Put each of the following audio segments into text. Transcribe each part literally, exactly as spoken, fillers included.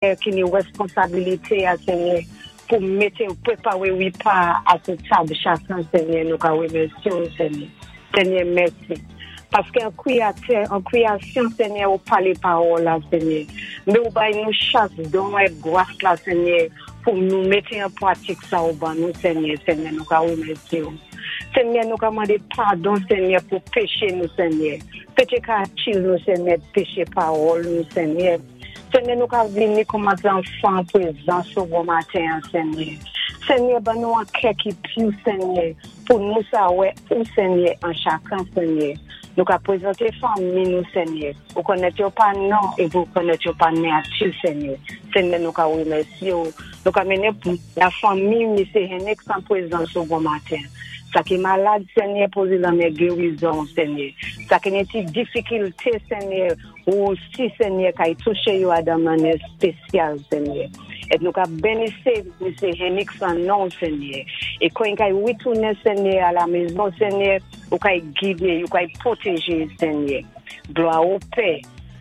Ki ni wèsponsabilité a, Senyè, pou mété ou pwépawé wépa a sé tab chakan, Senyè, nou ka wémèsyé ou, Senyè. Senyè, mèsi. Paské an kwiyatè, an kwiyasyon, Senyè, ou palé pawòl la, Senyè. Mé ou bay nou chak don èk gwas la, Senyè, pou nou mété an pwatik sa ou ban nou, Senyè. Senyè, nou ka wémèsyé ou. Senyè, nou ka mandé padon, Senyè, pou péché nou, Senyè. Péché ka atil nou, Senyè, péché pawòl nou, Senyè. Senyè, nou ka vini kòm zanfan pwézans ou bon maten, Senyè. Senyè, ban nou an kè ki pi, Senyè, pou nou sa wè ou, Senyè, an chakan, Senyè. Nou ka pwézanté fanmi nou, Senyè. Ou konnèt yo pa non, é ou konnèt yo pa nati, Senyè. Senyè, nou ka wémèsyé ou. Nou ka mennen la fanmi Misyé Hennick an pwézans ou bon maten. Sa ki malad, Senyè, pozé lanmen gérizon, Senyè. Sa ki ni ti difikilté, Senyè, ou si, Senyè, kay touché yo a dan mannyè spésyal, Senyè. É nou ka bénisé Misyé Hennick an non, Senyè. É kon kay witounen, Senyè, a la mézon, Senyè, ou kay gidé, ou kay pwotéjé, Senyè. Glwa o Pè,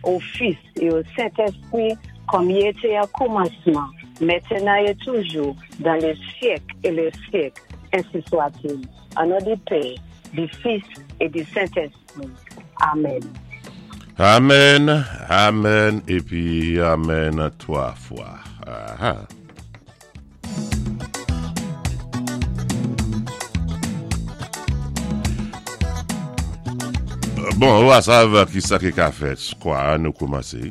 o Fis é o Sentèspwi, kòm i été o kòmansman, mentenan é toujou, dan lé syèk é lé syèk, ensi swa-t-il. An non di Pè, di Fis é di Sentèspwi. Amen. Amen, amen, épi amen twa fwa. Aha. Bon, ou a sav ki sa ki ka fèt, kwa nou koumansé.